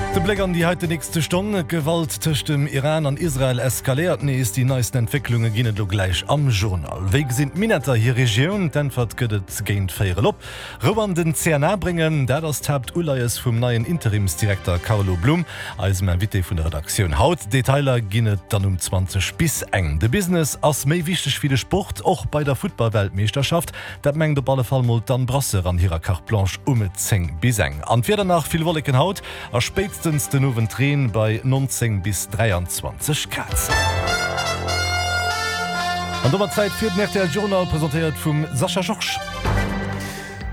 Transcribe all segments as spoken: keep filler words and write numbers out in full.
De Bléck an déi heiten nächste Stonn, D'Gewalt tëscht dem Iran an Israel eskaléiert nees. Déi neisten Entwécklunge ginn et elo gläich am Journal. Wéi gesinn d'Minetter hir Regioun? D'Äntwert gëtt et géint véierel op. Rou an den C N A bréngen, dat ass d'Haaptuleies vum neien Interimsdirekter Carlo Blum, eisem Invité vun der Redaktioun haut. Detailer ginn et dann um zwanzeg bis eng. De Business ass méi wichteg wéi de Sport, och bei der Futtballweltmeeschterschaft. Dat mengt op alle Fall mol d'Anne Brasseur an hirer Carte Blanche um zéng bis eng. An d'Wieder nach, Vill Wolleken haut a spéitstens den Owend Reen bei neunzéng bis dräianzwanzeg Grad. An domat Zäit fir den R T L Journal, presentéiert vum Sascha Georges.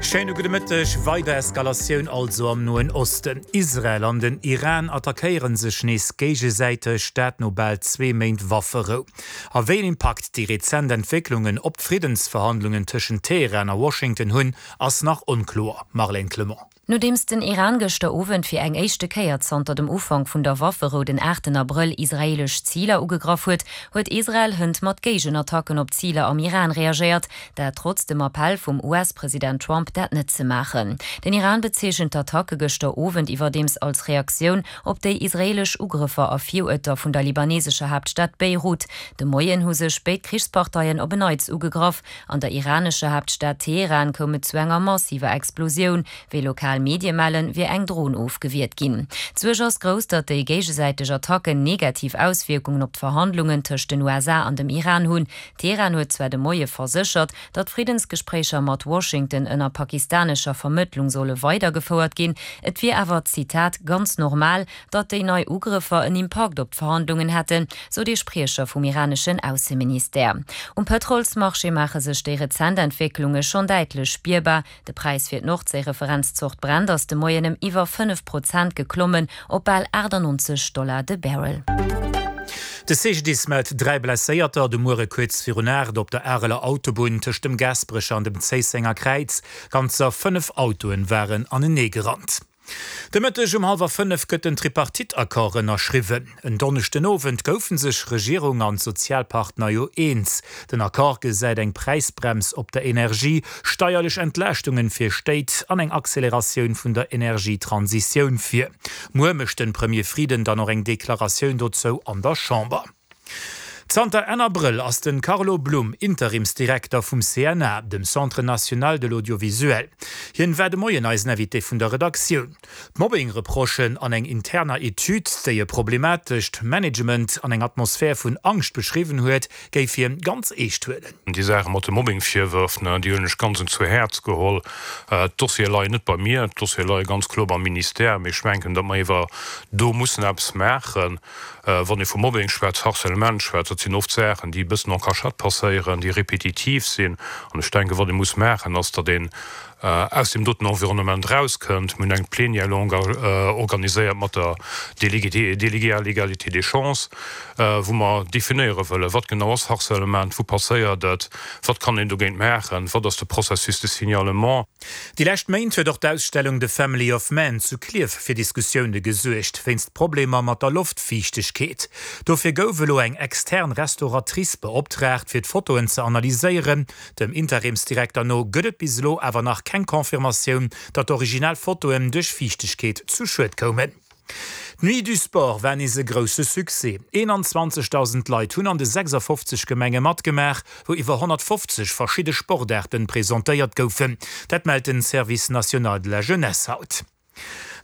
Schéine gudde Mëtteg. Weider Eskalatioun also am Noen Osten. Israel an den Iran attackéiere sech nees géigesäiteg, dat no bal zwee Méint Wafferou. A wéi een Impakt déi rezent Entwécklungen op d'Friddensverhandlungen tëschent Teheran a Washington hunn, ass nach onkloer. Marlène Clement. Nodeems den Iran gëschter Owend fir eng éischte Kéier zanter dem Ufank vun der Wafferou den aachten Abrëll israeelesch Ziler ugegraff huet, huet Israel hënt mat Géigenattacken op Ziler am Iran reagéiert, dat trotz dem Appell vum U S-President Trump, dat net ze maachen. Den Iran bezeechent d'Attacke gëschter Owend iwwerdeems als Reaktioun op déi israeelesch Ugrëffer a Viruerter vun der libanesescher Haaptstad Beirut. De Moien hu sech béid Krichsparteien op en Neits ugegraff. An der iranescher Haaptstad Teheran koum et zu enger massiver Explosioun. Wéi lokal Medie mellen, wier eng Dron ofgewiert ginn. D'Suerg ass grouss, datt déi géigesäiteg Attacken negativ Auswierkungen op d'Verhandlungen tëscht den U S A an dem Iran hunn. Teheran huet zwar de Moie verséchert, datt Friddensgespréicher mat Washington ënner pakistanescher Vermëttlung solle weidergefouert ginn. Et wier awer, Zitat, ganz normal, datt déi nei Ugrëffer en Impakt op d'Verhandlungen hätten, sou de Spriecher vum iraneschen Ausseministère. Um Pëtrolsmarché maache sech déi rezent Entwécklunge schonn däitlech spierbar. De Präis fir d'Nordséi-Referenzzort Brent ass de Moien ëm iwwer fënnef Prozent geklommen op bal achtannonzeg Dollar de Barrel. De C G D I S mellt dräi Blesséierter de Muere kuerz virun aacht op der Areler Autobunn tëscht dem Gaasperecher an dem Zéissenger Kräiz. Ganzer fënnef Autoen waren anenee gerannt. De Mëtteg um hallwer fënnef gëtt den Tripartite-Accord ënnerschriwwen. En Donneschden Owend goufe sech Regierung an Sozialpartner jo eens. Den Accord gesäit eng Präisbrems op der Energie, steierlech Entlaaschtunge fir Stéit an eng Acceleratioun vun der Energietransitioun vir. Muer mécht de Premier Frieden dann och eng Deklaratioun dozou an der Chamber. Zanter Enn Abrëll ass den Carlo Blum Interimsdirekter vum C N A, dem Centre national de l'audiovisuel. Hien war de Moien eisen Invité vun der Redaktioun. D'Mobbing-Reprochen an eng interner Etüd, déi e problematescht Management an eng Atmosphär vun Angscht beschriwwen huet, géif hien ganz eescht huelen. Déi Saache mat de Mobbing-Virwërf, déi hunn ech ganz zu Häerz geholl. D'Dossiere leien net bei mir, d'Dossiere leie ganz kloer beim Ministère, mee ech mengen, datt mer iwwer do mussen eppes maachen. Wann ee vu Mobbing schwätzt, Harcèlement schwätzt, dat sinn oft Saachen, déi e bëssen en cachette passéieren, déi repetitiv sinn. An ech denken, wat ee muss maachen, ass, datt een aus deem doten Environnement rauskënnt. Mir hunn eng Plénière longue organiséiert mat der Déléguée déléguée à l'égalité des chances, wou mer definéiere wëllen, wat genau ass Harcèlement, wou passéiert et, wat kann een dogéint maachen, wat ass de Processus de signalement. Déi lescht Méint huet och d'Ausstellung The Family of Man zu Klierf fir Diskussioune gesuergt, wéinst Problemer mat der Loftfiichtegkeet. Dofir gouf elo eng extern Restauratrice beoptraagt, fir d'Fotoen ze analyséieren. Dem Interimsdirekter no gëtt et bis elo awer nach keng Confirmatioun, datt d'Originalfotoen duerch Fiichtegkeet zu Schued koumen. D'Nuit du Sport war nees e grousse Succès. eenanzwanzegdausend Leit hunn an de sechsafofzeg Gemenge matgemaach, wou iwwer honnertfofzeg verschidde Sportaarten presentéiert goufen. Dat mellt den Service national de la jeunesse haut.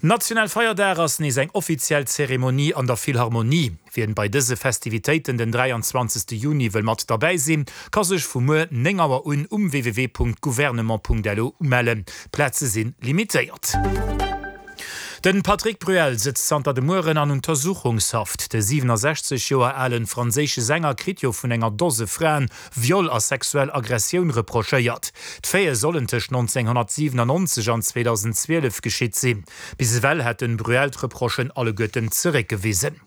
Nationale Feierdag ass nees eng offiziell Zeremonie an der Philharmonie. Wien bei dëse Festivitéiten den dräianzwanzegste Juni wëll mat derbäi sinn, ka sech vu muer néng Auer un um w w w Punkt gouvernement Punkt l u umellen. D'Plaze sinn limitéiert. Den Patrick Bruel sëtzt zanter de Mueren an Untersuchungshaft. De siewenundsechzeg Joer alen franséische Sänger kritt jo vun enger Dose Fraen Viol a sexuell Aggressioun reprochéiert. D'Faite sollen tëscht nonzénghonnertsiwenannonzeg an zweedausendzwielef geschitt sinn. Bis ewell hat den Bruel d'Reprochen alleguerten zeréckgewisen.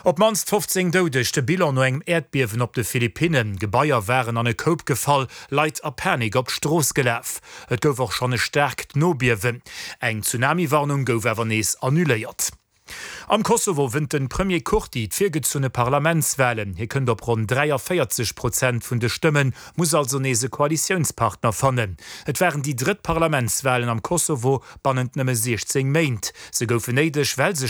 Op d'mannst fofzéng Doudeg, de Bilan no engem Äerdbiewen op de Philippinnen. Gebaier waren an e Koup gefall, Leit a Panik op d'Strooss gelaf. Et gouf och schonn e staarkt Nobiewen. Eng Tsunami-Warnung gouf awer nees annuléiert. Am Kosovo wënnt de Premier Kurti d'virgezunne Parlamentswalen. Hie kënnt op ronn dräiavéierzeg Prozent vun de Stëmmen, muss also nees e Koalitiounspartner fannen. Et waren déi drëtt Parlamentswalen am Kosovo bannent nëmme siechzéng Méint. Se goufen néideg, well sech